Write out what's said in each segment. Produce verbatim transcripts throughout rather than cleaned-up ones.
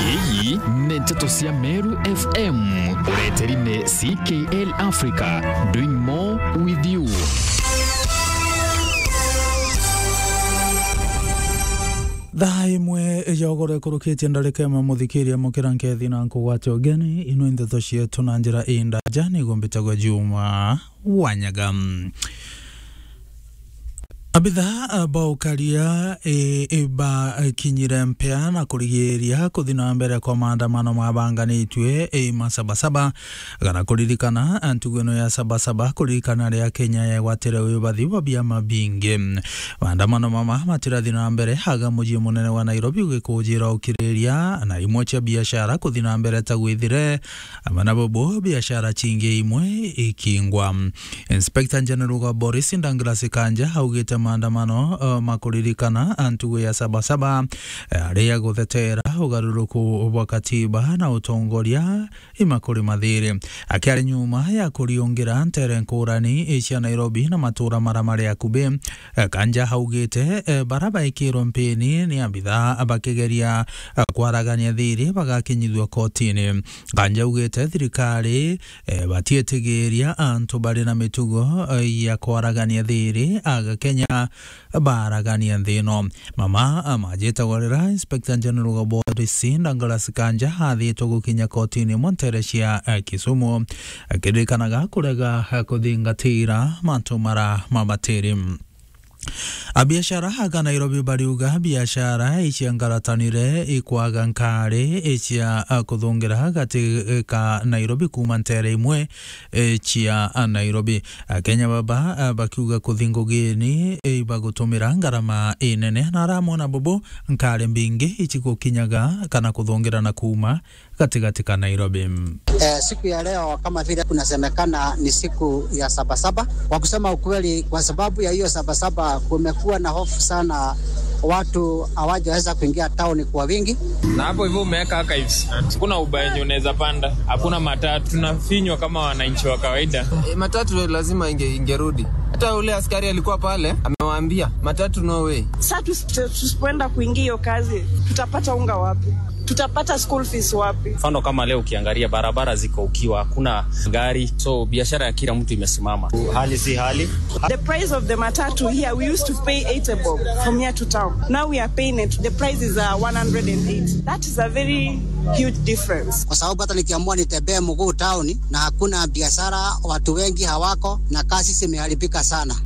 Iyi ni nteto cia Meru F M, ureteri ni C K L Africa, doing more with you. Thaa imwe ya ugoro ikurukitie ndarika imwe, muthikiria mukira nkethi na nkugwate ugeni, ino nteto cietu na njira indaja, niguo mbitagwa Juma Wanyaga. Abithaa ba ukaria, e, e, bakinyire mpea na kurigiria kuthi na mbere kwa maandamano mabanganitue, e, ma Sabasaba, kana kuririkana ntugo ino ya Sabasaba, kuririkana ria Kenya yegwatire wibathi bwa biama bingi. Maandamano mama matirathi na mbere aga mucii munene wa Nairobi ugikujira ukiriria, na imwe cia biashara kuthi na mbere ta gwithire, amwe na bobo biashara cingi imwe ikingwa. Inspector General wa Boris, Douglas Kanja, augite maandamano, eh, ma kuririkana ntugo ya Sabasaba, eh, ari ya guthetera ugaruruku bwa katiba na utongoria ima kuri mathiri. Akiari nyuma ya kuriungira ntere nkurani cia Nairobi na matura mara mari akubi, eh, Kanja augite, eh, bara baikirwe mpini ni abithaa bakigeria, eh, kwaragania thiri bagakinyithua kotini. Kanja augite thirikari, eh, batietigiria antu bari na mitugo, eh, ya kwaragania thiri aga Kenya baragania nthi ino. Mama, ah, majitagwa rira Inspector General wa Boris, Douglas Kanja, athitwe gukinya kotini imwe ntere cia, eh, Kisumu, akiririkanaga kurega, eh, kuthingatira mantu mara mabatiri. Abiashara aga Nairobi bariuga biashara icia ngaratanire ikwaga nkari icia, ah, kuthungira gati ka Nairobi kuuma ntere imwe, eh, cia, ah, Nairobi. Akenya baba, ah, bakiuga kuthi ngugini, eh, ibagutumira ngarama inene, na aramwona bobo nkari mbingi icigukinyaga kana kuthungira na kuuma gatigati ka Nairobi. Eh, siku ya leo kama vile kunasemekana ni siku ya Sabasaba. Kwa kusema ukweli, kwa sababu ya hiyo Sabasaba kumekuwa na hofu sana, watu hawajaweza kuingia town kwa wingi. Na hapo hivyo umeweka archives. Hakuna Uber yenye unaweza panda, hakuna matatu. Tunafinywa kama wananchi wa kawaida. E, matatu lazima inge-, ingerudi. Hata ule askari alikuwa pale, amewaambia, "Matatu no way." Sasa tusi-, tusipoenda kuingia hiyo kazi, tutapata unga wapi? Tutapata school fees wapi? Mfano kama leo ukiangalia barabara ziko ukiwa, hakuna gari, so biashara ya kila mtu imesimama. Hali si hali. The price of the matatu here, we used to pay eighty bob from here to town. Now we are paying it. The price is, uh, one hundred and eighty. That is a very huge difference. Kwa sababu hata nikiamua nitembee mguu town na hakuna biashara, watu wengi hawako na kazi zimeharibika sana.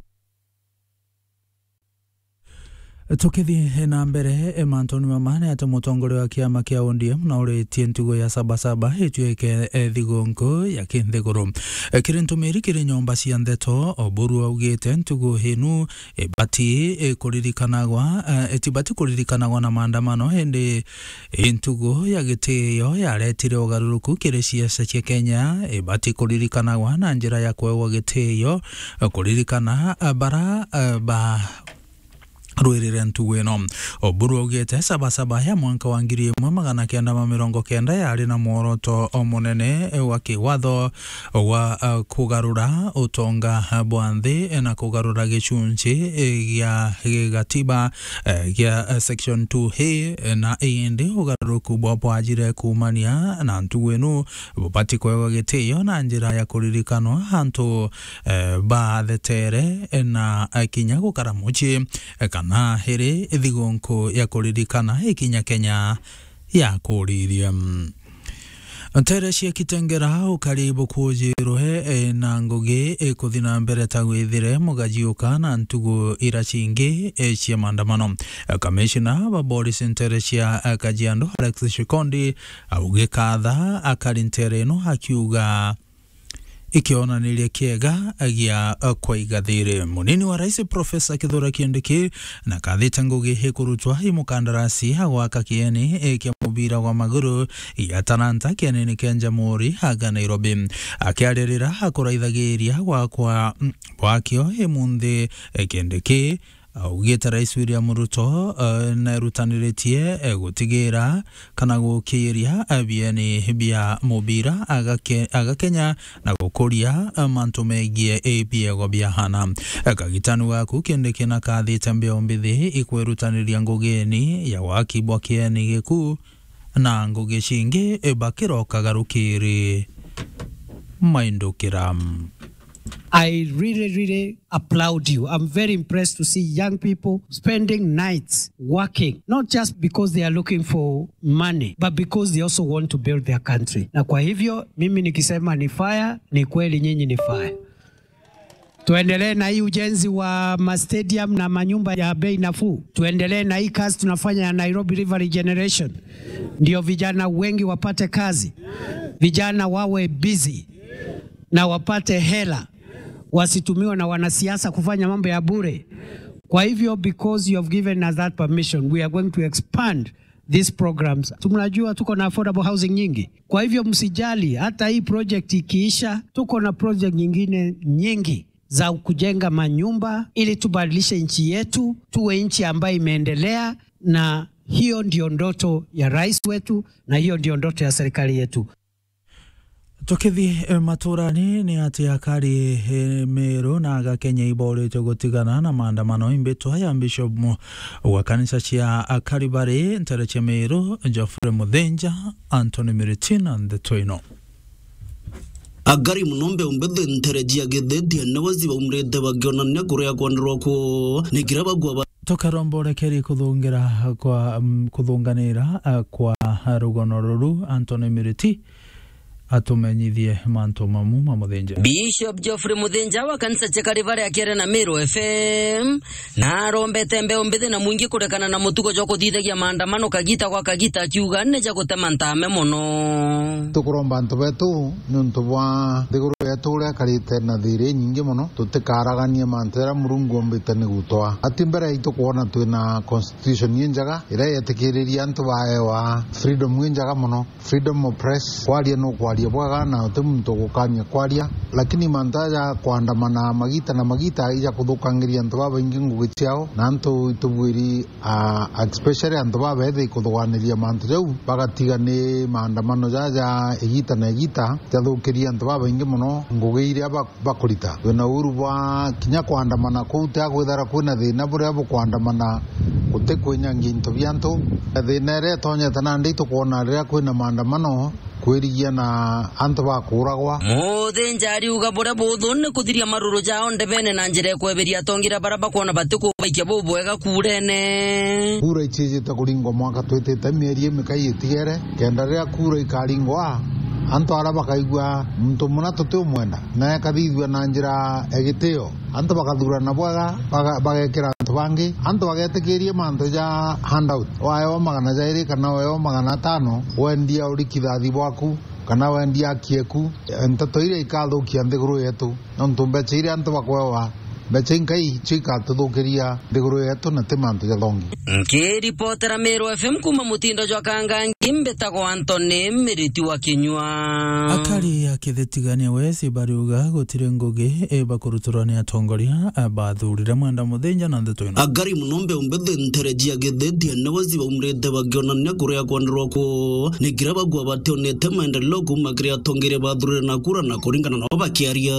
Tukithi na mbere, e, mantuni mama ni ati mutongoria wa kiama kia O D M nauritie ntugo ya Sabasaba ituike, e, thigunku ya kinthiguru. E, kiri ntumiri kiri nyomba cia ndeto, Oburu augite ntugo inu ibati, e, kuririkanagwa, e, itibati kuririkanagwa na maandamano, indi i ntugo ya gitio yaretire ugaruruku kiri ciaca cia Kenya, ibati kuririkanagwa na njira ya kuegwa gitio, e, kuririkana, e, bara, e, ba rwirire ntugu ino. Oburu augite Sabasaba ya mwanka wa ngiri imwe magana kenda ma mirongo kenda yari na mworoto o munene wa kiwatho wa, uh, kugarura utonga bwa nthi na kugarura gicunci, eh, gia gigatiba, eh, gia, eh, section two A, eh, na indi ugaruruku bwa bwajire kuumania na ntugu ino bubati kwegwa gitio na njira ya kuririkanwa antu, eh, bathetere, eh, na, eh, kinya gukara mucii, eh, kana iri thigunku ya kuririkana ikinya Kenya yakuririe. Ntere cia Kitengera ukari bukujirwe, eh, na ngugi ikuthi na mbere ta gwithire mugajiuka na ntugu ira cingi, eh, cia maandamano. Eh, kamishina ba polisi ntere cia, eh, Kajiado Alex Shikondi augikatha akari ntere ino akiuga ikionaniria kiega gia kwaiga thiri. Munini wa rais Profesa Kithure Kindiki na kathite ngugi ikurutwa i mukandarasi agwaka kieni kia mubira wa maguru ya Talanta kienini kia Jamhuri aga Nairobi. Akiaririra akuraithagiria gwakwa, mm, gwakio imunthi, eh, Kindiki augite Rais William Ruto, eh, nerutaniritie, eh, gutigira kana gukiiria, eh, bieni bia mubira agake-, agakenya na gukuria, eh, mantu megie, eh, biego bia hana. Eh, kagitanu gaku Kindiki na kathite mbeo mbithi ikwirutaniria ngugini ya waki bwa kieni giku na ngugi cingi bakirokaga rukiri maindukira. I really, really applaud you. I'm very impressed to see young people spending nights working, not just because they are looking for money, but because they also want to build their country. Na kwa hivyo, mimi nikisema ni fire, ni kweli nyinyi ni fire. Tuendelee na hii ujenzi wa ma stadium na manyumba ya bei nafuu. Tuendelee na hii kazi tunafanya ya Nairobi River Regeneration. Ndio vijana wengi wapate kazi. Vijana wawe busy na wapate hela. Wasitumiwe na wanasiasa kufanya mambo ya bure. Kwa hivyo, because you have given us that permission, we are going to expand these programs. Tunajua tuko na affordable housing nyingi. Kwa hivyo msijali, hata hii project ikiisha, tuko na project nyingine nyingi za kujenga manyumba ili tubadilishe nchi yetu, tuwe nchi ambayo imeendelea, na hiyo ndio ndoto ya rais wetu, na hiyo ndio ndoto ya serikali yetu. Tukithi, eh, maturani, ni ati akari, eh, Meru na Agakenya iboritwe gutigana na maandamano imbitwa ya Bishop mu-, wa kanisa cia Kalvari ntere cia Meru, Geoffrey Muthinja, Anthony Miriti na ndeto ino. Akari mono mbeumbe ntere cia Githeti ene wazi baumrite bakionania kuria kwandirwa kwoo ni kira bagua ba- Tukaromborekeri kuthungira kwa, mm, kuthunganira, ah, kwa rugono ruru, Anthony Miriti atumenyithie mantu mamu ma Muthinja. Bishop Geoffrey Muthinja wa kanisa cia Kalvari akiaria na Meru F M, na arombete mbeu mbithi na mwingi kurekana na mutugo jwa kuthithagia maandamano kagita gwa kagita, akiuga ni ja gutema ntame mono. Tukuromba antu betu niuntu bwa nthiguru yetu uria ikarite na thiri inyingi mono, tutikaraganie mantu jaria Murungu ombite ni gutwaa. Ati mbere yaitu kwona twina constitution injega iria yetikiriria antu baewa freedom injega mono. Freedom of press, kwaria no kwaria bwega na uti muntu ugukania kwaria, lakini mantu aja kwandamana magita na magita ija kuthukangiria antu babaingi ngugi ciao, na antu itubwiri, ah, especially antu babethi kuthuganiria mantu jau, bagatiga ni maandamano jaja igita na igita jathukiria antu babaingi mono ngugi iria ba-, bakurita. Twina uru bwa kinya kwandamana kuu, tia kwithira kwina thina buria bukwandamana guti kwinyangia into bia antu. Thina iria itonyete nandi tukwona riria kwina maandamano kwirigia na antu bakuragwa. Muthinja ariuga buria buthu ni kuthiria maruru jao ndebene na njira ya kweberia atongeria baria bakwona batikubaikia bubwega kurene. Kura icijite kuringwa mwaka twitite mieri imikai itigere, kenda riria kura ikaringwa, antu aria bakaigua muntu muna tutiumwenda, na ekathithua na njira ya gitio. Antu bakathurana bwega, baga-, bagekira antu bangi. Antu bagetikiria mantu ja handout. Waewa magana jairi kana waewa magana atano, wendia uri kithathi bwaku, kana wendia aki eku. Nteto iria ikathukia nthiguru yetu. Nontu mbeca iria antu bakwewa, mbeca inkai icio ikatuthukiria nthiguru yetu na ti mantu jathongi. Nkiripotera Meru F M kuma mutindo jwa Kangangi, mbitagwa Anthony Miriti wa Kinyua. Akari a Kithitigania West bariuga gutiri ngugi ibakurutirwa ni atongoria bathurire Mwenda Muthinja na ndeto ino. Akari mono mbeumbe ntere cia Githeti ene wazi baumrite bakionania kuria kwandirwa kwoo ni kira bagua bationete maendeleo kuma kiri atongeria bathurire na kura na kuringana nao bakiaria.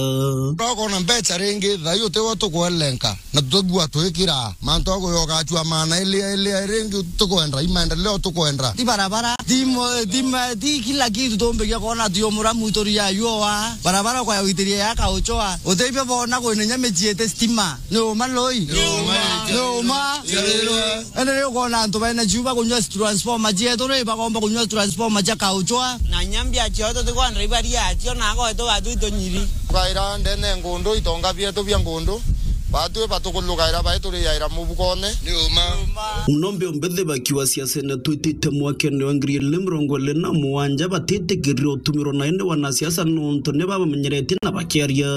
Bakona mbeca ringi, thai utiwe tukwelenka. Na tutagua twikira mantu a kuyoka acua maana ilia, ilia, ringi tukwenda, i maendeleo tukwenda. Ti barabara, ti mo-, ti ma-, ti kila kitu tumbiria kwona, ti umuramu ituri ya yua. Barabara kwa witiria ya kauchoa. Utebia bona kwina nya micii iti stima. Ni uma loi? Ni uma. Ni uma. Ende riu ukona antu bena ciuba kunyua transformer cietu ri, bakomba kunyua transformer cia kauchoa. Na nyambia cio tutikwenda ibaria cio na agoe tugatu itunyiri. Kaira ndene ngundu, itonga bietu bia ngundu, batwi batukulukaira bai turiaira mubukone. Ni uma. Nombe ombethi bakiwa siasene twitite mwakene wa ngiri ili mirongo ili na mugwanja batitikirire utumirwa na indi wanasiasa nontu ni babamenyeretie na bakiaria.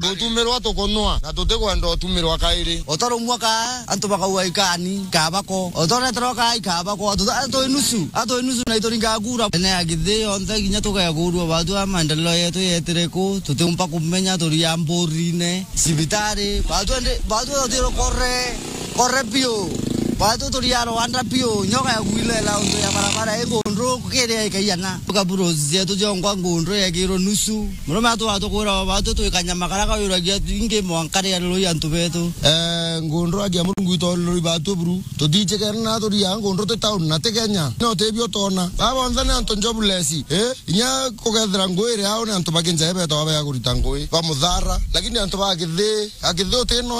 Tutumirwa tukunwa na tutikwenda utumirwa kairi. Otarumwa ka antu bakauga ikani, kabako. Otoreterwa ka ikabako. Atu, atu inusu, atu inusu na ituringa kura. Ene ya githi yonthe kinya tugekurua batu a maendeleo yetu yetire ku, tutiumba kumenya turia mburine. Cibitari, batu ende, batu tutiro kore, kore biu. Batu turia Rwanda biu, nyoka ya kuilela untu ya barabara igundu. Ukiria ikaiana. Tukaburuzi zetu jongwa ngundu yekirwo nusu. Murume atu atukwira batu twikanya makara kawiragia ingi mwanka ria rurui antu betu. Eh, ngundu agia Murungu itolori batu buru. Tutichikene na turia ngundu ti town na ti Kenya. No tebio tona. Baba onthe ni antu jobless. Eh? Inya kugethira ngui iri au ni antu bakinja betawa bea kurita ngui. Ba muthara. Lakini antu ba kithi, a kithi uti no